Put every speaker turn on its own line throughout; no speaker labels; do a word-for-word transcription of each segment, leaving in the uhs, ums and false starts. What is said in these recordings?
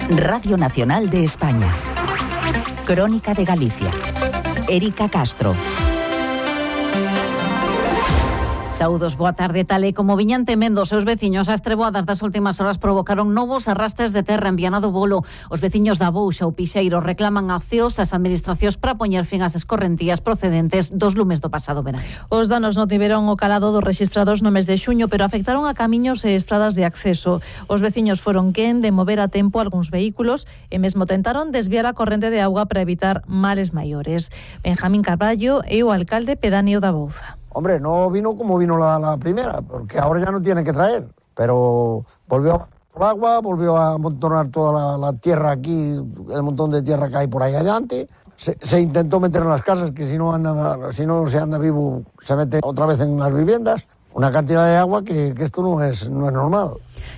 Radio Nacional de España. Crónica de Galicia. Érica Castro. Saúdos, boa tarde. Tal e como viñan temendo os seus veciños, as treboadas das últimas horas provocaron novos arrastres de terra en Viana do Bolo. Os veciños da Bouxa ou Pixeiro reclaman accións ás administracións para poñer fin ás escorrentías procedentes dos lumes do pasado verano.
Os danos non tiveron o calado dos rexistrados no mes de xuño, pero afectaron a camiños e estradas de acceso. Os veciños foron quen de mover a tempo algúns vehículos e mesmo tentaron desviar a corrente de auga para evitar males maiores. Benjamín Carballo é o alcalde pedáneo da Bouza.
Hombre, no vino como vino la, la primera, porque ahora ya no tiene que traer, pero volvió por agua, volvió a amontonar toda la, la tierra aquí, el montón de tierra que hay por ahí adelante. Se, se intentó meter en las casas, que si no anda, si no se anda vivo, se mete otra vez en las viviendas. Una cantidad de agua que, que esto no es, no es normal.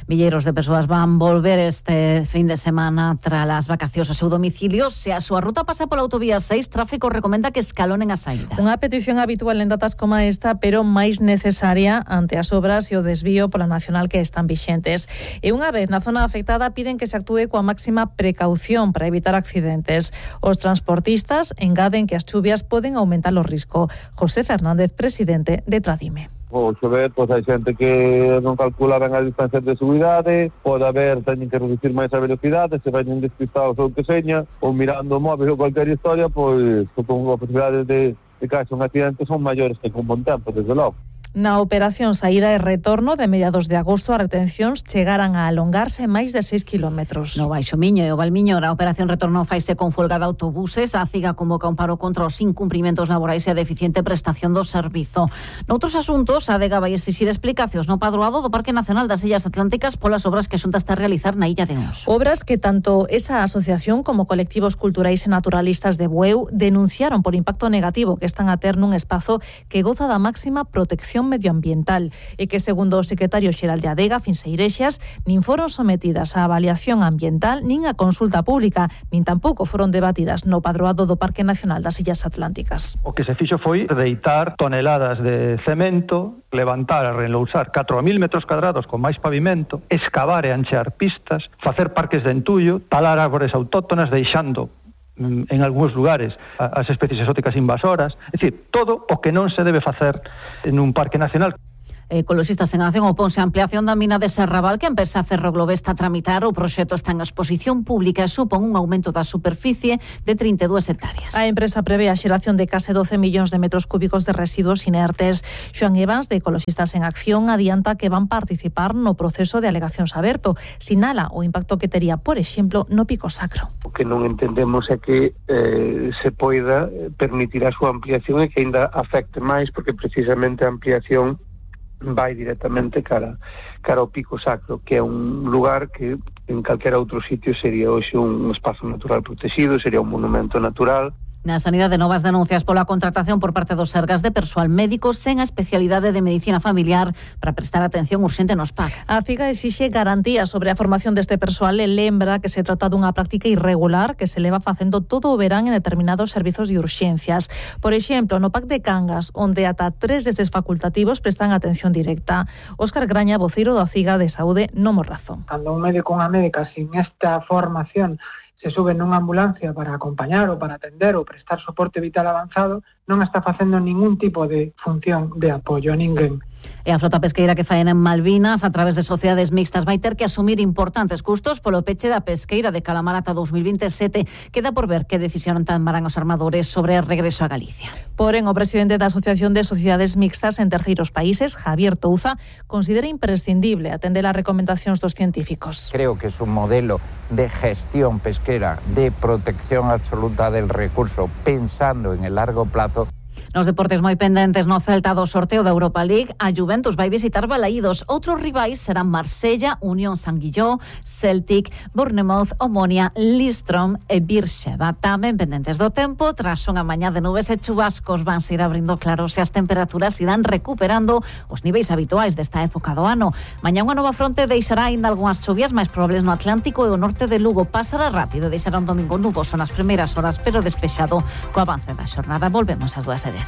Milleiros de persoas van volver este fin de semana tras as vacacións ao seu domicilio. Se a súa ruta pasa pola autovía seis, Tráfico recomenda que escalonen a saída. Unha petición habitual en datas como esta, pero máis necesaria ante as obras e o desvío pola nacional que están vixentes. E unha vez na zona afectada piden que se actúe coa máxima precaución para evitar accidentes. Os transportistas engaden que as chuvias poden aumentar o risco. José Fernández, presidente de Tradime.
O chover, pois hai xente que non calcula ben as distancias de subidade, pode haber, teñen que reducir máis a velocidade, se veñen despistados ou que seña, ou mirando o móvil ou cualquier historia, pois con as posibilidades de, de caerse un accidente son maiores que con bon tempo, desde logo. Na operación saída e retorno de mediados de agosto, as retencións chegaran a alongarse máis de seis kilómetros. No Baixo Miño e o Valmiño, a operación retorno faise con folga de autobuses. A CIGA convoca un paro contra os incumprimentos laborais e a deficiente prestación do servizo. Noutros asuntos, a Adega vai exixir explicacións no padroado do Parque Nacional das Illas Atlánticas polas obras que a Xunta está a realizar na Illa de Ons. Obras que tanto esa asociación como colectivos culturais e naturalistas de Bueu denunciaron por impacto negativo que están a ter nun espazo que goza da máxima protección medioambiental e que, segundo o secretario xeral de Adega, Finseirexas, nin foron sometidas a avaliación ambiental nin a consulta pública, nin tampouco foron debatidas no padroado do Parque Nacional das Illas Atlánticas.
O que se fixo foi deitar toneladas de cemento, levantar e relousar catro mil metros cadrados con máis pavimento, escavar e anchear pistas, facer parques de entullo, talar árbores autóctonas, deixando en algúns lugares as especies exóticas invasoras, é dicir, todo o que non se debe facer nun parque nacional. Ecoloxistas en Acción oponse a ampliación da mina de Serrabal que a empresa Ferroglobe está a tramitar. O proxecto está en exposición pública e supón un aumento da superficie de trinta e dúas hectáreas. A empresa prevé a xeración de case doce millóns de metros cúbicos de residuos inertes. Xoan Evans, de Ecoloxistas en Acción, adianta que van participar no proceso de alegacións aberto. Sinala o impacto que tería, por exemplo, no Pico Sacro.
O que non entendemos é que eh, se poida permitir a súa ampliación e que ainda afecte máis, porque precisamente a ampliación vai directamente cara, cara ao Pico Sacro, que é un lugar que en calquera outro sitio sería hoxe un espazo natural protegido, sería un monumento natural.
Na sanidade, novas denuncias pola contratación por parte dos Sergas de persoal médico sen a especialidade de medicina familiar para prestar atención urxente nos P A C. A CIGA exixe garantías sobre a formación deste persoal e lembra que se trata dunha práctica irregular que se leva facendo todo o verán en determinados servizos de urxencias. Por exemplo, no P A C de Cangas, onde ata tres destes facultativos prestan atención directa. Óscar Graña, voceiro da CIGA de Saúde, non mo razón.
Cando un médico ou unha médica sin esta formación se sube nunha ambulancia para acompañar ou para atender ou prestar soporte vital avanzado, non está facendo ningún tipo de función de apoio a ninguén.
E a flota pesqueira que faena en Malvinas a través de sociedades mixtas vai ter que asumir importantes custos polo peche da pesqueira de Calamar ata dous mil vinte e sete. Queda por ver que decisión tomarán os armadores sobre o regreso a Galicia. Porén, o presidente da Asociación de Sociedades Mixtas en Terceiros Países, Javier Touza, considera imprescindible atender as recomendacións dos científicos.
Creo que es un modelo de gestión pesquera, de protección absoluta del recurso, pensando en el largo plazo.
Nos deportes moi pendentes no Celta do sorteo da Europa League, a Juventus vai visitar Balaídos. Outros rivais serán Marsella, Unión Sanguilló, Celtic, Bournemouth, Omonia, Listrom e Beersheba. Tamén pendentes do tempo, tras unha mañá de nubes e chubascos van se ir abrindo claros e as temperaturas irán recuperando os niveis habituais desta época do ano. Mañá unha nova fronte deixará ainda algunhas chuvias máis probables no Atlántico e o norte de Lugo. Pasará rápido, deixará un domingo nuboso nas primeiras horas, pero despexado co avance da xornada. Volvemos ás dúas e dez.